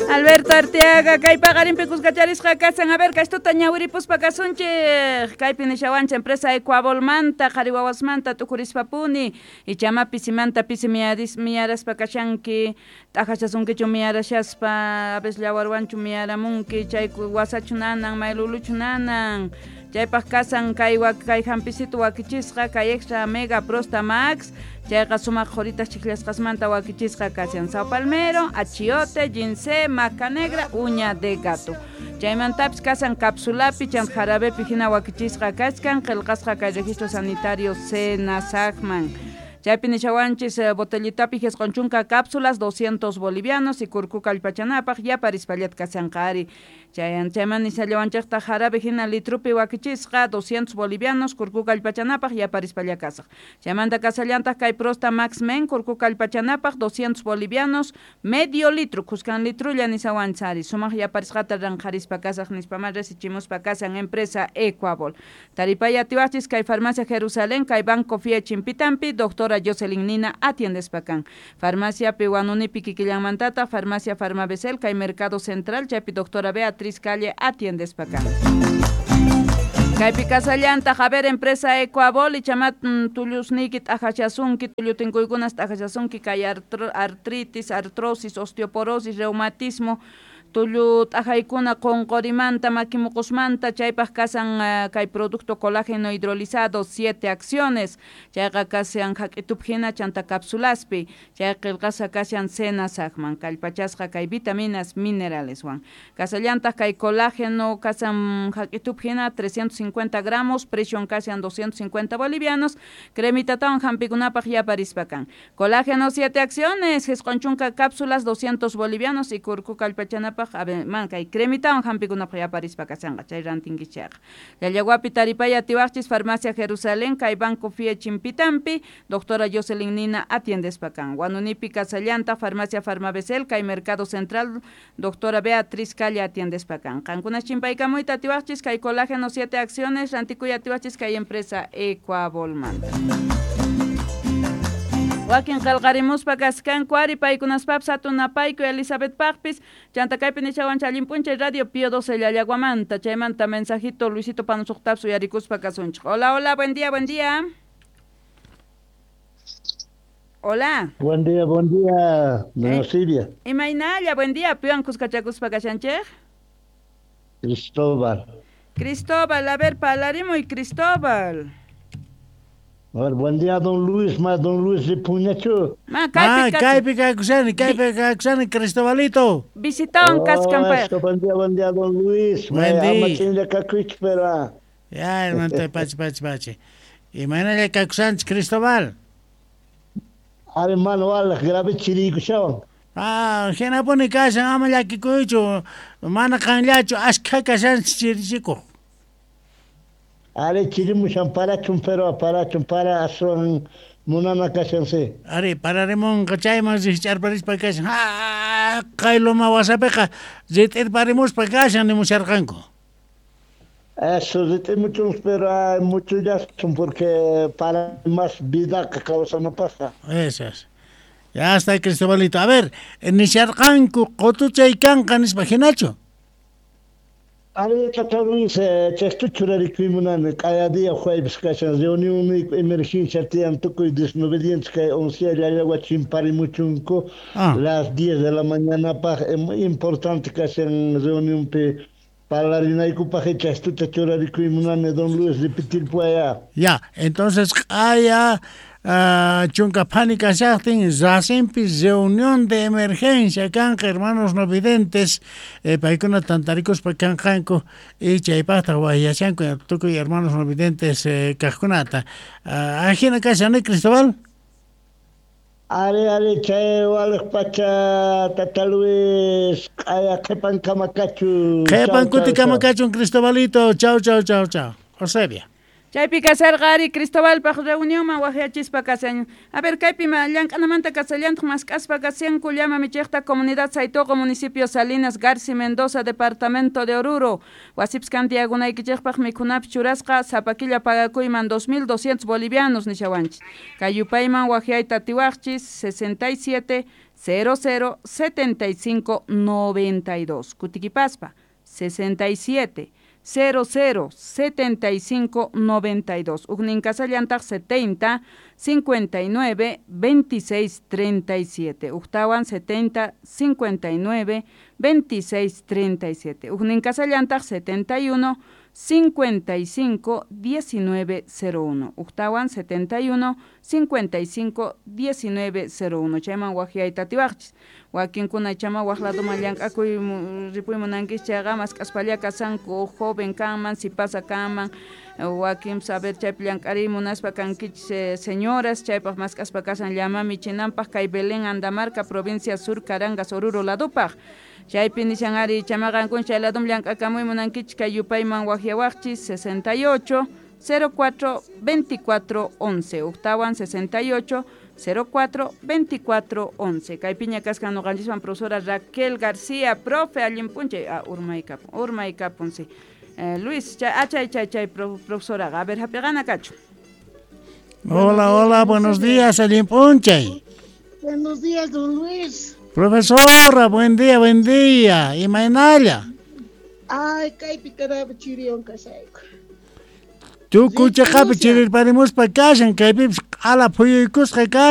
Alberto Arteaga, kay paqarinpi kuskacharisqa kasan. A ver, kaystuta ñawiripuspa kasunchik. Kaypi nishawanchik empresa Ecuabolmanta, qhari wawasmanta tukurispapuni. Ichama pisimanta pisi miyaraspa kashanki, t'ajashasunkichu miyarashaspa, a veces llawarwanchu miyaramunki, chay wasachu nanan, mayluluchu nanan. Chaypaq kasan kay kay hampisitu wakichisqa, kay extra mega prosta max, chayqa sumaq qhuritas chiklasqasmanta wakichisqa kashan. Sao palmero, achiote, ginseng, maca negra, uña de gato. Chaymantapis kasan capsulapi, chant jarabepi hina wakichisqa kachkan, qillqasqa kay registro sanitario Senasagman. Chaypi nishawanchis botellitapi 10 cápsulas, 200 bolivianos y kurku kallpachanapaq yaparispallat kashanqa ari. Chayman nishallawanchikta jarabe hina litrupi wakichisqa 200 bolivianos kurku kallpachanapaq yaparispalla kasaq. Chaymanta kasallantaq kay Prosta Max Men kurku kallpachanapaq 200 bolivianos medio litro kuskan litrulla nishawanchis ari. Sumaq yaparisqata ranqharispa kasaq nispaman resichimuspa kasan empresa Ecuabol. Taripaya atiwachis kay Farmacia Jerusalén, kay Banco Fie Chimpitampi, doctora Jocelyn Nina atiendespa kan. Farmacia Piwanunipi kikillanmantata, Farmacia Farmabesel, kay Mercado Central, chaypi doctora Beatriz Calle atiendespa kan. Kaypi kasallantaq, a ver, empresa Ecuabol, ichamat tullusniyki t'ajachasunki, tullutinkuykunas t'ajachasunki, kay artritis, artrosis, osteoporosis, reumatismo, tullu t'ajaykuna qonqorimanta, makimuqusmanta, chaypaq kasan kay producto colágeno hidrolizado, 7 acciones, chayqa kashan hak'itup hina chanta capsulaspi, chay qillqasqa kashan Senasagman, kallpachasqa kay vitaminas mineraleswan. Kasallantaq kay colágeno kasan hak'itup hina 350 gramos, precion kashan 250 bolivianos, cremitatawan hampikunapaq yaparispa kan. Colágeno 7 acciones, 9 cápsulas, 200 bolivianos y kurku kallpachanapaq a ver, man, kay cremitawan hampikunapaq yaparispa kashanqa, chay rantinkichayqa. Llallawapi taripaya atiwaqchis Farmacia Jerusalén, kay Banco Fie Chimpitampi, doctora Jocelyn Nina atiendespa kan. Huanunipi kasallanta, Farmacia Farmabesel, kay Mercado Central, doctora Beatriz Calle atiendespa kan. Qankunas chimpaykamuyta atiwaqchis, kay colágeno 7 acciones, rantikuy atiwaqchis kay empresa Ecuabolmanta. Wakin qillqarimuspa kaskanku ari paykunaspapis hatunapayku Elizabeth Paqpis, chanta kaypi nishawanchik allin p'unchay Radio Pío 12 Llallaguamanta, chaymanta mensajito Luisito Panusuqtapis uyarikuspa kasunchik. Hola, hola, buen día, buen día. Hola. Buen día, doña Silvia. Imaynalla, buen día, piwan kuskachakuspa kashanchik? Cristóbal. Cristóbal, a ver, palarimuy Cristóbal. A ver, buen día, don Luis, más don Luis de Puñacho. Kaypi kaykusani, Cristobalito. Visitaban Cascampa. Buen día, don Luis. Buen día. Ya, hermano, pachi. Y mañana kakusanchik, Cristóbal. Hermano, grave chirikushawan. Ah, hinapuni kashan, ama llakikuychu, mana qanllachu, ashkha kashanchik chirichikuq. Are chirimushan parachun pero parachun para aswan munana kashan si. Are pararimunqa chayman rikch'arparispa kashan. Ha, kay loma wasapiqa rit'irparimuspa kashan nimusharqanku. Eso rit'imuchun pero hay mucho yasun porque para más vida que kawsanapaqqa. Eso es. Ya está Cristobalito. A ver, nisharqanku qutuchay kanqa nispa hinachu. Ari tata Luis, chaystu churarikuymunani, q'aya día jueves kashan reunión emergencia tiyan tukuy desobedientes kay 11 llallagua chimparimuchunku las 10 de la mañana paq muy importante kashan reunionpi parlarinaykupaq chaystuta churarikuymunani don Luis repetir puaya. Ya, entonces q'aya chunka phani kashaqtin rasinpi reunión de emergencia kanqa hermanos no videntes paykuna tantarikuspa kanqanku y chaypaqtaq wayashanku tukuy hermanos no videntes kaqkunata. Ajina kashan, Cristóbal? Are chay waliq pacha tata Luis q'aya qhipankama kachu. Qhipan kutikama kachun Cristobalito. Chau. Eusebia. Chaypi kasarqa ari Cristobalpaq reunionman waqyachispa kasan. A ver, kaypi llank'anamanta kasallantaq mask'aspa kashanku llama michiqta comunidad Saitoqo, municipio Salinas, Garci Mendoza, departamento de Oruro. Wasipis kantiagunaykichikpaq mikhunapi churasqa sapa killa pagakuyman 2200 bolivianos nishawanchis. Kay yupayman waqyayta atiwaqchis 67 00 75 92. Kutikipaspa 67 00 75 92. Ujnin kasallantaq 70 59 26 37. Ujtawan 70 59 26 37. Ujnin kasallantaq 71 55 19 01. Ujtawan 71 55 19 01. Chayman wajyayta atiwaqchis. Wakinkuna chama waj ladoman llank'akuy ripuy munankis chayqa mask'aspalla kasanku joven kanman, sipasa kanman, wakin saber chaypi llank'ariy munaspa kankichis señoras, chaypaq mask'aspa kasan llama michinanpaq kay Belén Andamarca, provincia Sur Carangas, Oruro ladupaq. Chaypi nishan ari chamaqankun chay ladum llank'akamuy munankichis kay yupayman wajyawaqchis 68 04 24 11. Ujtawan 68 04 24 11. Kaypiña kaskan noqanchiswan profesora Raquel García, profe allin p'unchay. Ah, urmaykapun, urmaykapun, sí. Luis, chay, chay, chay, profesora, a ver, hap'iqana kachu. Hola, hola, buenos días, allin p'unchay. Buenos días, don Luis. Profesora, buen día, buen día. Imaynalla. Ay, kaypi karaba chiriwan kashayku. Tukuy chaqapi chirirparimuspa kashan, kaypipis q'ala phuyuykusqa kashan.